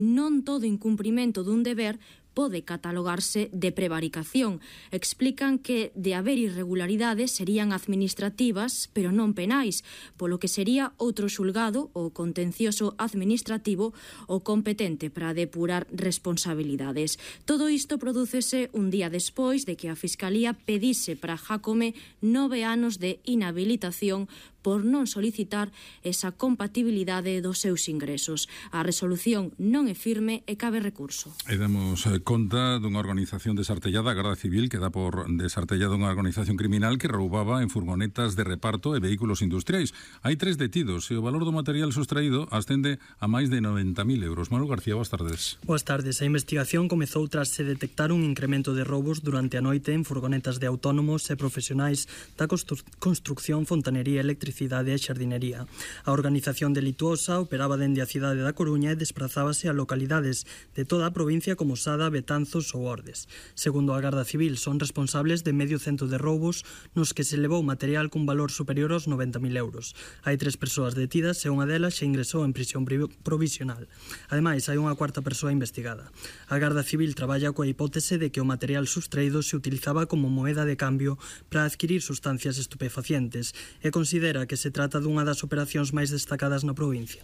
Non todo incumprimento dun deber pode catalogarse de prevaricación. Explican que, de haber irregularidades, serían administrativas, pero non penais, polo que sería outro xulgado, o contencioso administrativo, o competente para depurar responsabilidades. Todo isto prodúcese un día despois de que a Fiscalía pedise para Jácome 9 anos de inhabilitación por non solicitar esa compatibilidade dos seus ingresos. A resolución non é firme e cabe recurso. E damos conta dunha organización desartellada, a Garda Civil, que dá por desartellada unha organización criminal que roubaba en furgonetas de reparto e vehículos industriais. Hai 3 detidos e o valor do material sustraído ascende a máis de 90.000 euros. Manuel García, boas tardes. Boas tardes. A investigación comezou tras se detectar un incremento de roubos durante a noite en furgonetas de autónomos e profesionais da construcción, fontanería, electricidade e xardinería. A organización delituosa operaba dende a cidade da Coruña e desprazábase a localidades de toda a provincia como Sada, Betanzos ou Ordes. Segundo a Garda Civil, son responsables de medio cento de roubos nos que se levou material cun valor superior aos 90.000 euros. Hai 3 persoas detidas e unha delas xa ingresou en prisión provisional. Ademais, hai unha cuarta persoa investigada. A Garda Civil traballa coa hipótese de que o material sustraído se utilizaba como moeda de cambio para adquirir sustancias estupefacientes e considera que se trata dunha das operacións máis destacadas na provincia.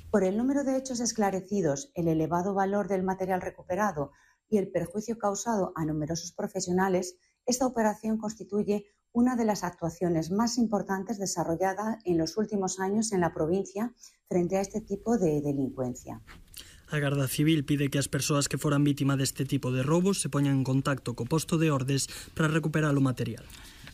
Por el número de hechos esclarecidos, el elevado valor del material recuperado y el perjuicio causado a numerosos profesionales, esta operación constituye una de las actuaciones más importantes desarrolladas en los últimos años en la provincia frente a este tipo de delincuencia. A Garda Civil pide que as persoas que foran vítima deste tipo de roubos se poñan en contacto co posto de Ordes para recuperar o material.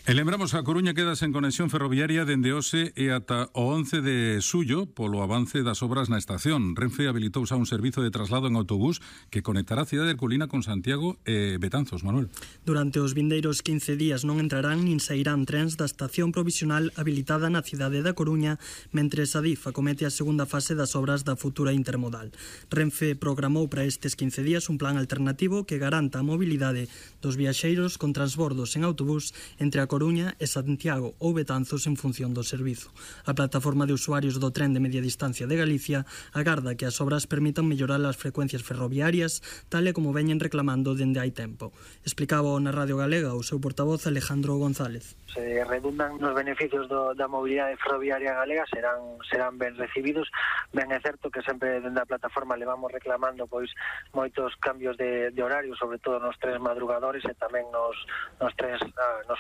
E lembramos, a Coruña queda sen conexión ferroviaria dende hoxe e ata o 11 de xullo polo avance das obras na estación. Renfe habilitouse a un servizo de traslado en autobús que conectará a cidade de Herculina con Santiago e Betanzos. Manuel. Durante os vindeiros 15 días non entrarán nin sairán trens da estación provisional habilitada na cidade da Coruña, mentres a DIF acomete a segunda fase das obras da futura intermodal. Renfe programou para estes 15 días un plan alternativo que garanta a mobilidade dos viaxeiros con transbordos en autobús entre a Coruña e Santiago ou Betanzos en función do servizo. A plataforma de usuarios do tren de media distancia de Galicia agarda que as obras permitan mellorar as frecuencias ferroviarias, tal e como veñen reclamando dende hai tempo. Explicaba na Radio Galega o seu portavoz Alejandro González. Se redundan nos beneficios da mobilidade ferroviaria galega serán ben recibidos. Ben é certo que sempre dende a plataforma levamos reclamando pois moitos cambios de horario, sobre todo nos trens madrugadores e tamén nos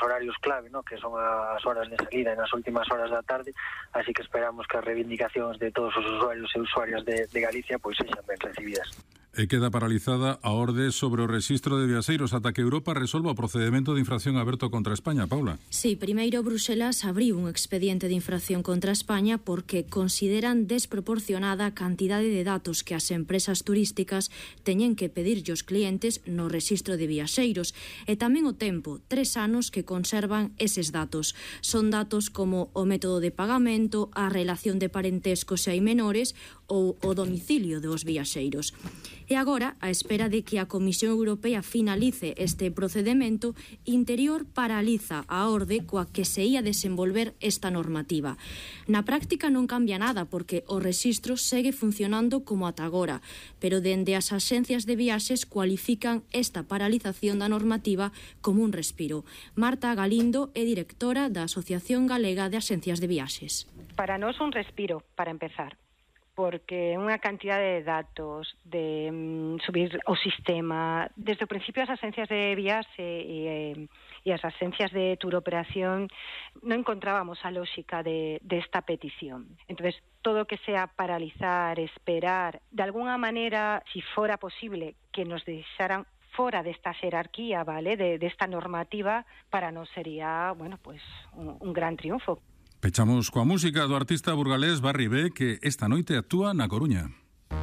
horarios clave, ¿no? Que son as horas de salida e nas últimas horas da tarde, así que esperamos que as reivindicacións de todos os usuarios e usuarias de Galicia pois sexan ben recibidas. E queda paralizada a orde sobre o rexistro de viaxeiros ata que Europa resolva o procedemento de infracción aberto contra España. Paula. Sí, primeiro Bruselas abriu un expediente de infracción contra España porque consideran desproporcionada a cantidade de datos que as empresas turísticas teñen que pedirlle aos clientes no rexistro de viaxeiros e tamén o tempo, 3 anos que conservan eses datos. Son datos como o método de pagamento, a relación de parentesco se hai menores ou o domicilio dos viaxeiros. E agora, á espera de que a Comisión Europea finalice este procedemento, Interior paraliza a orde coa que se ia desenvolver esta normativa. Na práctica non cambia nada porque o rexistro segue funcionando como ata agora, pero dende as axencias de viaxes cualifican esta paralización da normativa como un respiro. Marta Galindo é directora da Asociación Galega de Axencias de Viaxes. Para nós un respiro, para empezar, porque unha cantidade de datos, de subir o sistema. Desde o principio as agencias de viaxe e as agencias de tour operación non encontrábamos a lógica de esta petición. Entonces, todo o que sea paralizar, esperar, de alguna maneira, si fora posible, que nos deixaran fora desta xerarquía, vale, desta normativa, para nós sería, bueno, pues un gran triunfo. Pechamos coa música do artista burgalés Barry B, que esta noite actúa na Coruña.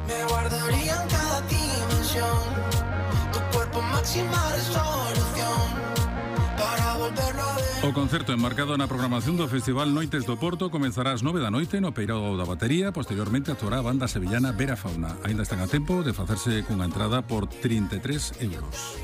Me guardaría en cada dimensión tu cuerpo máxima resolución para volverlo a ver. O concerto enmarcado na programación do Festival Noites do Porto comenzará ás 9 da noite no Peirao da Batería. Posteriormente actuará a banda sevillana Vera Fauna. Ainda están a tempo de facerse cunha entrada por 33 euros.